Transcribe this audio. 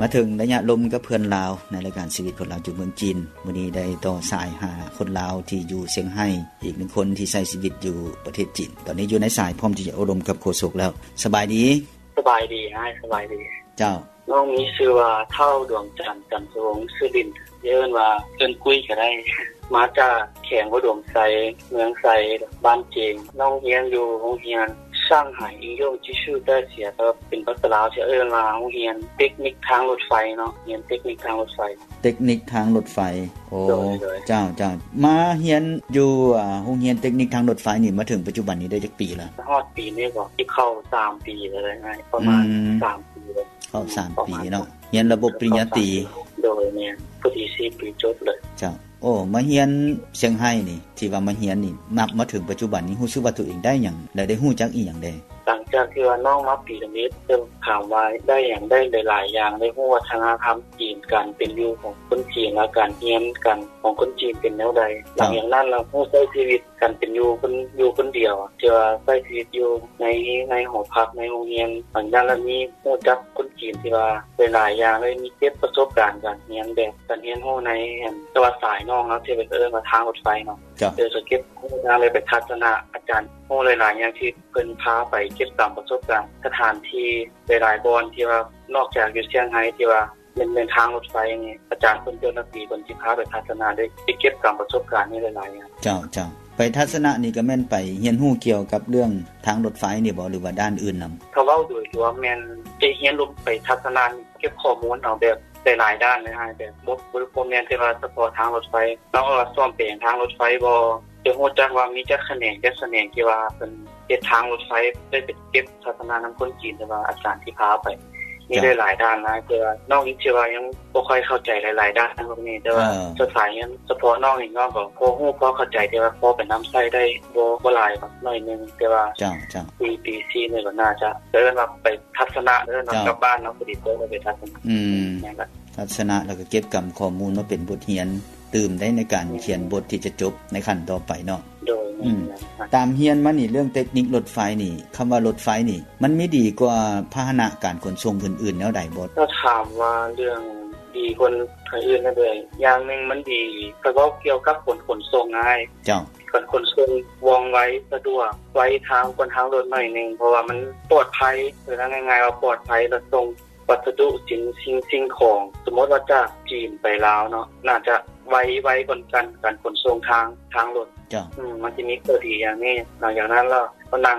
ມາເຖິງໄລຍະລົມກັບເພື່ອນລາວ ໃນລາຍການຊີວິດຄົນລາວຢູ່ເມືອງຈີນ. ມື້ນີ້ໄດ້ຕໍ່ສາຍຫາຄົນລາວທີ່ຢູ່ຊຽງໄຮ້ ອີກໜຶ່ງຄົນທີ່ໃຊ້ຊີວິດຢູ່ປະເທດຈີນ. ຕອນນີ້ຢູ່ໃນສາຍ ພ້ອມທີ່ຈະໂອ້ລົມກັບໂຄສົກແລ້ວ. ສະບາຍດີ. ສະບາຍດີອ້າຍ. ສະບາຍດີ. ເຈົ້າ. ນ້ອງມີຊື່ວ່າ ທ້າວ ດວງຈັນ ຈັນສະວົງ ຊື່ຫຼິ້ນ ຊິເອີ້ນວ່າ ເອີ້ນກຸ້ຍກໍໄດ້. ມາຈາກແຂວງອຸດົມໄຊ ເມືອງໄຊ ບ້ານເຈງ. ນ້ອງຮຽນຢູ່ໂຮງຮຽນ 上海应用技术大学 ກໍເປັນພາສາລາວ ຊິເອີ້ນວ່າ ໂຮງຮຽນເຕັກນິກທາງລົດໄຟເນາະ. ຮຽນເຕັກນິກທາງລົດໄຟ. ເຕັກນິກທາງລົດໄຟ. ໂອ້ ໂດຍ ໂດຍ. ເຈົ້າ ເຈົ້າ. ມາຮຽນຢູ່ ອ່າ ໂຮງຮຽນເຕັກນິກທາງລົດໄຟນີ້ ມາເຖິງປັດຈຸບັນນີ້ໄດ້ຈັກປີລະ? ຮອດປີນີ້ບໍ່ ຊິເຂົ້າສາມປີແລ້ວນະ ປະມານ ອືມ ສາມປີແລ້ວ. ເຂົ້າສາມປີເນາະ. ຮຽນລະບົບປະລິນຍາຕີ. ໂດຍ ແມ່ນ. ພໍດີສີ່ປີຈົບເລີຍ. ເຈົ້າ. ໂອ້ ມາຮຽນຊຽງໄຮ້ນີ້ ທີ່ວ່າມາຮຽນນີ້ ນັບມາເຖິງປັດຈຸບັນນີ້ ຮູ້ສຶກວ່າຕົວເອງໄດ້ຫຍັງ ແລະ ໄດ້ຮູ້ຈັກອີ່ຫຍັງແດ່? ຫຼັງຈາກທີ່ວ່ານ້ອງມາປີທຳອິດ ເຊິ່ງຖາມວ່າໄດ້ຫຍັງ? ໄດ້ຫຼາຍໆຢ່າງ, ໄດ້ຮູ້ວັດທະນະທຳຈີນ, ການເປັນຢູ່ຂອງຄົນຈີນ ແລະ ການຮຽນການຂອງຄົນຈີນເປັນແນວໃດ. ຫຼັງຈາກນັ້ນລະຮູ້ໃຊ້ຊີວິດການເປັນຢູ່ຄົນ ຢູ່ຄົນດຽວ ທີ່ວ່າໃຊ້ຊີວິດຢູ່ໃນ ໃນຫໍພັກ ໃນໂຮງຮຽນ. ຫຼັງຈາກນັ້ນລະມີຮູ້ຈັກຄົນຈີນທີ່ວ່າຫຼາຍໆຢ່າງ ໄດ້ມີເກັບປະສົບການການຮຽນ ແບບການຮຽນຮູ້ໃນ ອັນ ແຕ່ວ່າສາຍນ້ອງເນາະ ທີ່ເພິ່ນເອີ້ນວ່າທາງລົດໄຟເນາະ. ເຈົ້າ. ໂດຍຈະເກັບຮູ້ທາງ ແລະ ໄປທັດສະນະອາຈານ ຮູ້ຫຼາຍໆຢ່າງທີ່ເພິ່ນພາໄປເກັບກຳປະສົບການ ສະຖານທີ່ຫຼາຍໆບ່ອນ ທີ່ວ່ານອກຈາກຢູ່ຊຽງໄຮ້ ທີ່ວ່າແມ່ນ ແມ່ນທາງລົດໄຟນີ້ ອາຈານເພິ່ນ ເຈົ້າໜ້າທີ່ເພິ່ນຊິພາໄປທັດສະນະ ໄດ້ ໄດ້ເກັບກຳປະສົບການນີ້ຫຼາຍໆຢ່າງ. ເຈົ້າ ເຈົ້າ. ໄປທັດສະນະນີ້ກໍແມ່ນໄປຮຽນຮູ້ກ່ຽວກັບເລື່ອງທາງລົດໄຟນີ້ບໍ່ ຫຼືວ່າດ້ານອື່ນນຳ? ຖ້າເວົ້າໂດຍລວມແມ່ນໄປຮຽນລົມ ໄປທັດສະນະນີ້ ເກັບຂໍ້ມູນເອົາແບບຫຼາຍໆດ້ານເລີຍອ້າຍ ແບບບໍ່ ບໍ່ ບໍ່ແມ່ນແຕ່ວ່າສະເພາະທາງລົດໄຟ. ນອກຈາກວ່າສ້ອມແປງທາງລົດໄຟບໍ່ ຈະຮູ້ຈັກວ່າມີຈັກຂະແໜງ ຈັກຂະແໜງທີ່ວ່າເພິ່ນເຮັດທາງລົດໄຟ ໄດ້ໄປເກັບທັດສະນະນຳຄົນຈີນ ແຕ່ວ່າອາຈານທີ່ພາໄປ ມີ ເຈົ້າ ຫຼາຍໆດ້ານຫຼາຍ ແຕ່ວ່ານ້ອງເອງຊິວ່າຍັງບໍ່ຄ່ອຍເຂົ້າໃຈຫຼາຍໆດ້ານພວກນີ້ ແຕ່ວ່າ ເອີ ສ່ວນຫຼາຍຍັງສະເພາະນ້ອງເອງ ນ້ອງກໍພໍຮູ້ພໍເຂົ້າໃຈ ແຕ່ວ່າພໍໄປນຳໃຊ້ໄດ້ບໍ່ ບໍ່ຫຼາຍດອກ ໜ້ອຍໜຶ່ງ. ແຕ່ວ່າ ເຈົ້າ ເຈົ້າ ປີ ປີສີ່ນີ້ກໍໜ້າຈະ ເອີ້ນວ່າໄປທັດສະນະ ເອີ້ນວ່າ ເຈົ້າ ກັບບ້ານເນາະ ພໍດີກໍໄດ້ໄປທັດສະນະ. ອືມ ແມ່ນລະ ທັດສະນະ ແລ້ວກໍເກັບກຳຂໍ້ມູນມາເປັນບົດຮຽນຕື່ມໄດ້ໃນການຂຽນບົດທີ່ຈະຈົບໃນຂັ້ນຕໍ່ໄປເນາະ. ໂດຍ. ອືມ ຕາມຮຽນມານີ້ ເລື່ອງເຕັກນິກລົດໄຟນີ້ ຄຳວ່າລົດໄຟນີ້ ມັນມີດີກວ່າພາຫະນະການຂົນສົ່ງອື່ນໆແນວໃດບໍ່? ຖ້າຖາມວ່າເລື່ອງດີກວ່າທາງອື່ນແນວໃດ ຢ່າງໜຶ່ງມັນດີ ຖ້າເວົ້າກ່ຽວກັບຂົນ ຂົນສົ່ງງ່າຍ. ເຈົ້າ. ການຂົນສົ່ງວ່ອງໄວ ສະດວກ ໄວທາງກວ່າທາງລົດໜ້ອຍໜຶ່ງ ເພາະວ່າມັນປອດໄພ ເອີ້ນງ່າຍໆວ່າປອດໄພ ແລ້ວສົ່ງ ວັດສະດຸ ສິ່ງ ສິ່ງ ສິ່ງຂອງ ສົມມຸດວ່າຈາກຈີນໄປລາວເນາະ ໜ້າຈະໄວ ໄວກວ່າການ ການຂົນສົ່ງທາງ ທາງລົດ. ເຈົ້າ. ອືມ ມັນຈະມີຂໍ້ດີຢ່າງນີ້. ຫຼັງຈາກນັ້ນລະ ກໍນັ່ງ